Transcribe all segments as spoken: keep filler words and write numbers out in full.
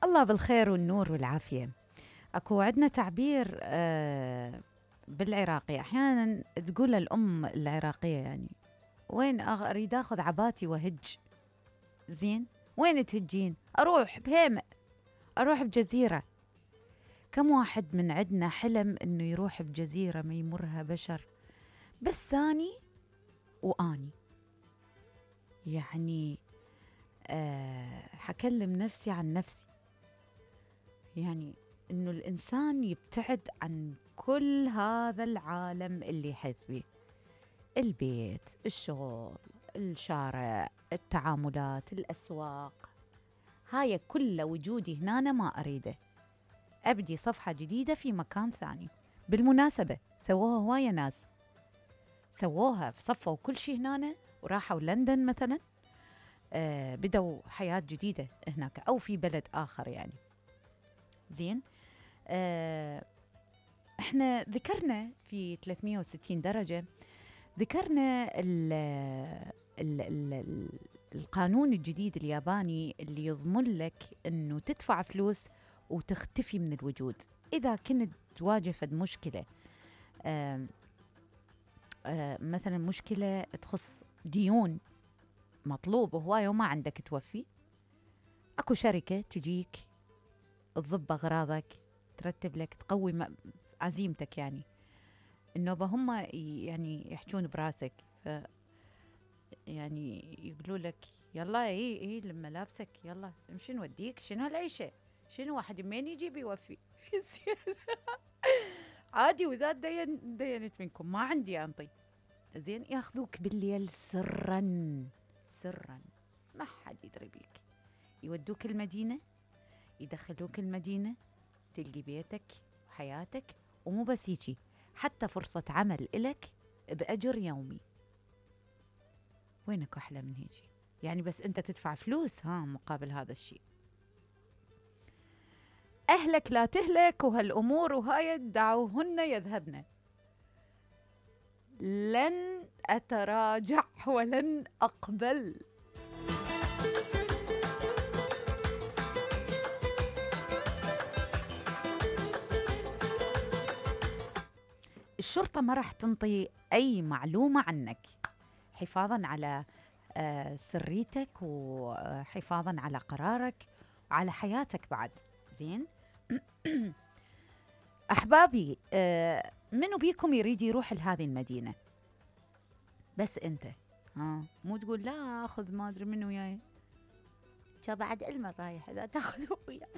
الله بالخير والنور والعافية. أكو عندنا تعبير آه بالعراقي أحيانا تقول الأم العراقية يعني وين أريد أخذ عباتي وهج. زين، وين تهجين؟ أروح بهيمة، أروح بجزيرة. كم واحد من عندنا حلم إنه يروح بجزيرة ما يمرها بشر، بس ثاني وآني يعني أه حكلم نفسي عن نفسي، يعني إنه الإنسان يبتعد عن كل هذا العالم اللي يحيط به، البيت، الشغل، الشارع، التعاملات، الأسواق، هاي كل وجودي هنا أنا ما أريده. أبدي صفحة جديدة في مكان ثاني. بالمناسبة سووها هواية ناس، سووها صفوا كل شيء هنا وراحوا لندن مثلا، آه بدوا حياة جديدة هناك أو في بلد آخر يعني. زين، آه احنا ذكرنا في ثلاثمئة وستين درجة، ذكرنا ال ال ال القانون الجديد الياباني اللي يضمن لك انه تدفع فلوس وتختفي من الوجود اذا كنت تواجه فد مشكلة، آه آه مثلا مشكلة تخص ديون مطلوب هواية وما عندك توفي. اكو شركة تجيك تضب اغراضك، ترتب لك، تقوي عزيمتك، يعني النوبة هم يعني يحجون براسك، ف يعني يقولوا لك يلا اي اي لما لابسك يلا امشي نوديك، شنو هالعيشة، شنو واحد منين يجي بيوفي. عادي، واذا دين دينت منكم ما عندي انطي. زين، ياخذوك بالليل سرا سرا ما حد يدري بيك، يودوك المدينة، يدخلوك المدينة، تلقي بيتك وحياتك، ومو بس هيجي، حتى فرصة عمل إلك بأجر يومي. وينك أحلى من هيجي؟ يعني بس أنت تدفع فلوس ها مقابل هذا الشيء. أهلك لا تهلك وهالأمور وهاي دعوهن يذهبن. لن أتراجع ولن أقبل. الشرطة ما راح تنطي أي معلومة عنك، حفاظاً على آه سريتك وحفاظاً على قرارك وعلى حياتك بعد. زين. أحبابي، آه منو بيكم يريد يروح لهذه المدينة؟ بس أنت ها، مو تقول لا أخذ ما أدري منو وياي، شا بعد علم رايح إذا تأخذه وياك.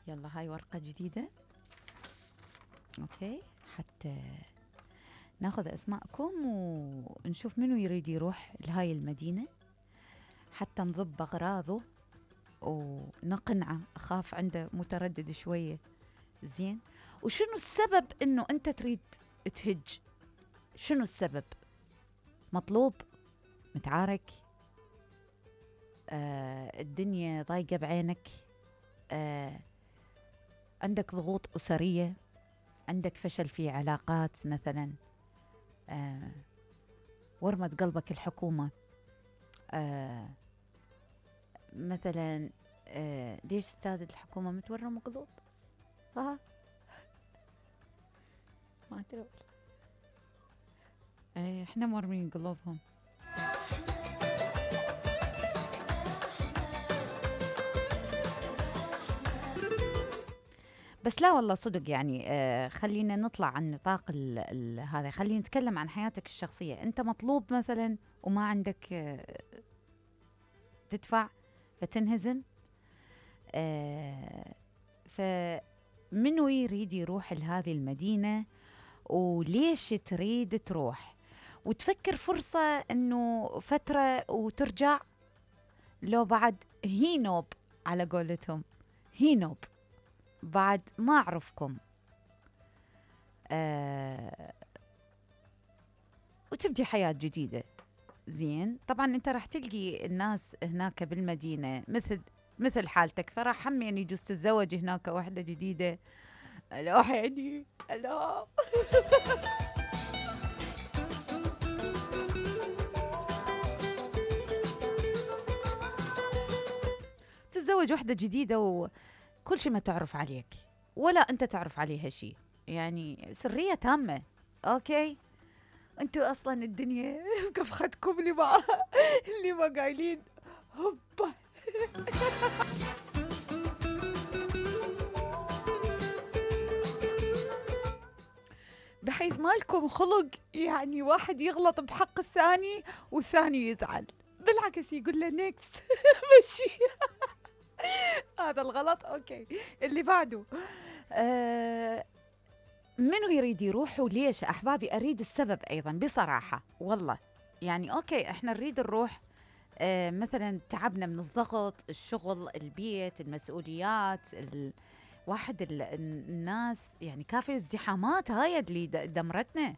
يلا هاي ورقة جديدة، أوكي، حتى ناخذ أسماءكم ونشوف منو يريد يروح لهاي المدينة حتى نضب أغراضه ونقنعه. أخاف عنده متردد شوية. زين، وشنو السبب إنه أنت تريد تهج؟ شنو السبب؟ مطلوب؟ متعارك؟ آه الدنيا ضايقة بعينك؟ آه عندك ضغوط أسرية؟ عندك فشل في علاقات مثلا؟ آه ورمت قلبك الحكومة؟ آه مثلا آه ليش استاذ الحكومة متورم قلوب؟ ها ما أدري، آه احنا مرمين قلوبهم. بس لا والله صدق يعني، آه خلينا نطلع عن نطاق ال ال هذا، خلينا نتكلم عن حياتك الشخصية. أنت مطلوب مثلا وما عندك آه تدفع فتنهزم، آه فمنو يريد يروح لهذه المدينة وليش تريد تروح؟ وتفكر فرصة أنه فترة وترجع، لو بعد هي نوب على قولتهم، هي نوب بعد ما أعرفكم، آه وتبدي حياة جديدة. زين، طبعا أنت راح تلقي الناس هناك بالمدينة مثل مثل حالتك، فراح هم يعني يجوز تتزوج هناك واحدة جديدة. ألا يعني ألا تتزوج وحدة جديدة وكل شيء ما تعرف عليك ولا أنت تعرف عليها شيء، يعني سرية تامة. أوكي، أنتوا أصلا الدنيا بكفختكم اللي ما اللي ما قايلين هوبا. بحيث ما لكم خلق يعني واحد يغلط بحق الثاني والثاني يزعل، بالعكس يقول له نيكس مشي. هذا الغلط. اوكي، اللي بعده. آه منو يريد يروح وليش احبابي؟ اريد السبب ايضا بصراحة والله. يعني اوكي احنا نريد نروح، آه مثلا تعبنا من الضغط، الشغل، البيت، المسؤوليات، ال... واحد ال... الناس يعني كافي الازدحامات هاي اللي د- دمرتنا.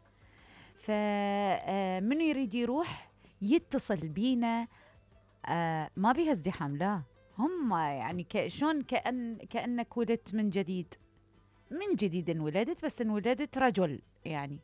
فمنو يريد يروح يتصل بينا، آه ما بيها ازدحام، لا هم يعني ك- شلون كأن كأنك ولدت من جديد، من جديد انولدت، بس انولدت رجل يعني.